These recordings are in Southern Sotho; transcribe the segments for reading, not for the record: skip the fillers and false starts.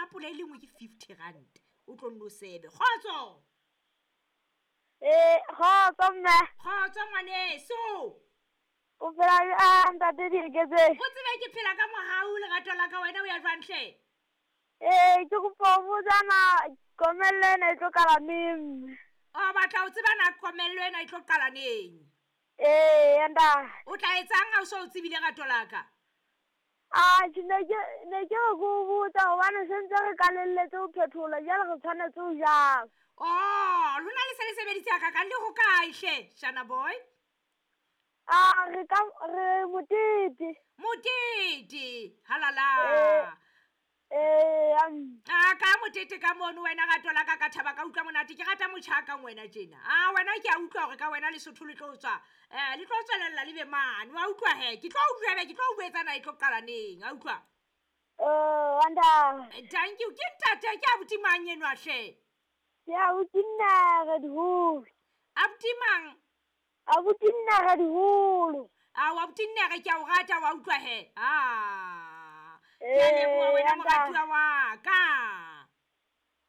Sampole e le nngwe ke R50. O tlo nno sebe. Kgotso. Ee, kgotso mme. Kgotso ngwaneso. O phela jwang ntate Dieketseng? O tsebe ke phela ka mohau lerato la ka, wena o ya jwang hle? Ee, ke kopa ho botsa na komello ena e tlo qala neng mme? O batla ho tseba na komello ena e tlo qala neng? Ee, ntate. O tla etsang ha o so o tsebile rato la ka? Atjhe, ne ke ne ke re ke o botsa hobane se ntse re qalelletse ho phethola jwale re tshwanetse ho jang. Oh, lona le se le sebeditse hakakang le hokae hle, Shana boy? A re ka re motete. Motete, halala. Ee, ee, A ka motete ka mono wena rato la ka, ka thaba ka utlwa monate. Ke rata motjha kang wena tjena. A wena ke a utlwa hore ka wena Lesotho le tlo tswa. Le tlo tswelella le be mane. Wa utlwa he? Ke tlo utlwa be ke tlo o jwetsa na e tlo qala neng. A utlwa? Ee, ntate. Thank you. Ke ntate ke abuti mang enwa hle? Ke abuti Nnere Diholo. Abuti mang? Abuti Nnere Diholo. A wa abuti Nnere ke a o rata wa utlwa he. Ah. Ke a leboha wena moratuwa wa ka.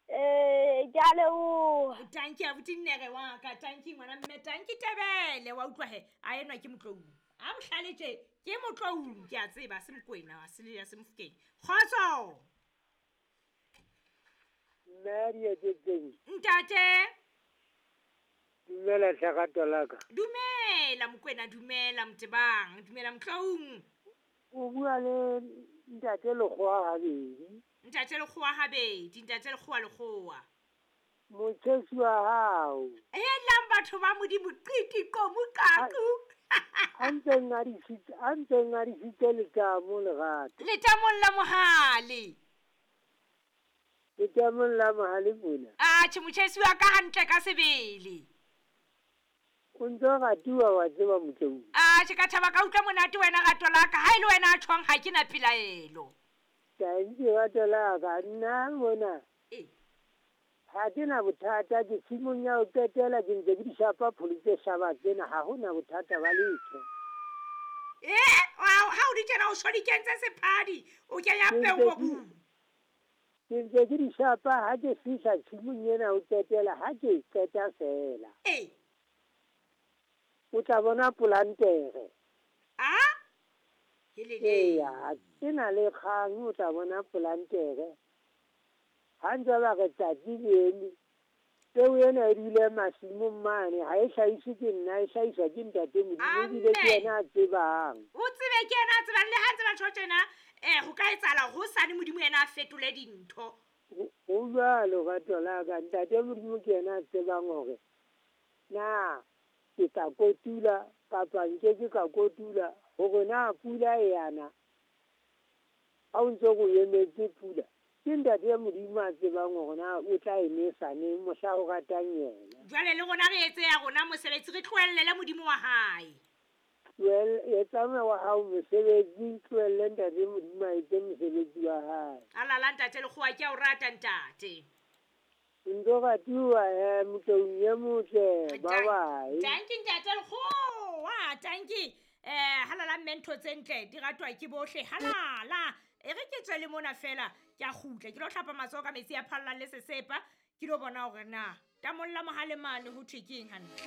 Ee, ke a leboha. Thank you abuti Nnere wa ka. Thank you ngwana mme. Thank you Tebele wa utlwa he. A enwa ke Motloung. A bohlale tje ke Motloung ke a tseba se Mokwena se le ya se Mofokeng. Kgotso. Mme Dieketseng. Ntate. Dumela hle rato la ka. Dumela Mokwena, dumela Motebang, dumela Motloung. O bua le ntate Lekgowa habedi. Ntate Lekgowa habedi, ntate Lekgowa Lekgowa. Motjhesi wa hao. Helang batho ba Modimo, qiti qomo qaqu. A ntseng a disitse letamo lerato. Letamong la mohale. Letamong la mohale mona. Atjhe motjhesi wa ka hantle ka sebele. O ntso ratuwa wa tseba Motloung. Atjhe ka thaba ka utlwa monate wena rato la ka. Ha e le wena a tjhong ha ke na pelaelo. Thank you rato la ka, nna mona. Ee. Ha ke na bothata, ke tshimong ya ho qetela ke ntse ke di shapa pholo tse hlaba tsena, ha hona bothata ba letho. Ha o di tjena o so di kentse sephadi, o kenya peo mobung. Ke ntse ke di shapa ha ke fihla tshimong ena ho qetela, ha ke qeta feela. Ee. O tla bona polantere. A? Helele. Eya, ke na le kgang, o tla bona polantere. Ha ntse ba re tsatsi le eme, peo ena e dule masimong mane, ha e hlahiswe ke nna, e hlahiswa ke ntate Modimo, ebile ke yena a tsebang. O tsebe ke yena a tsebang, le ha ntse ba tjho tjena, ho ka etsahala hosane Modimo yena a fetole dintho. Ho jwalo rato la ka, ntate Modimo ke yena a tsebang hore na ke tla kotula kapa nke ke ka kotula, hore na pula e yana. Ha o ntse o emetse pula, ke ntate Modimo a tsebang hore na o tla e nesa neng mohla o ratang yena. Jwale le rona re etse ya rona mosebetsi, re tlohellele Modimo wa hae. Etsa wa hao mosebetsi, tlohelle ntate Modimo a etse mosebetsi wa hae. Alala ntate Lekgowa, ke a o rata ntate. Ntso ratuwa he, Motloung e motle, bye bye. Thank you ntate Lekgowa, thank you. Halala mme ntho tse ntle di ratwa ke bohle, halala. E re ke tswe le mona fela, ke a kgutla, ke lo hlapa matsoho ka metsi a phallang le sesepa, ke lo bona hore na tamolla mohale mane ho thwe ke eng hantle.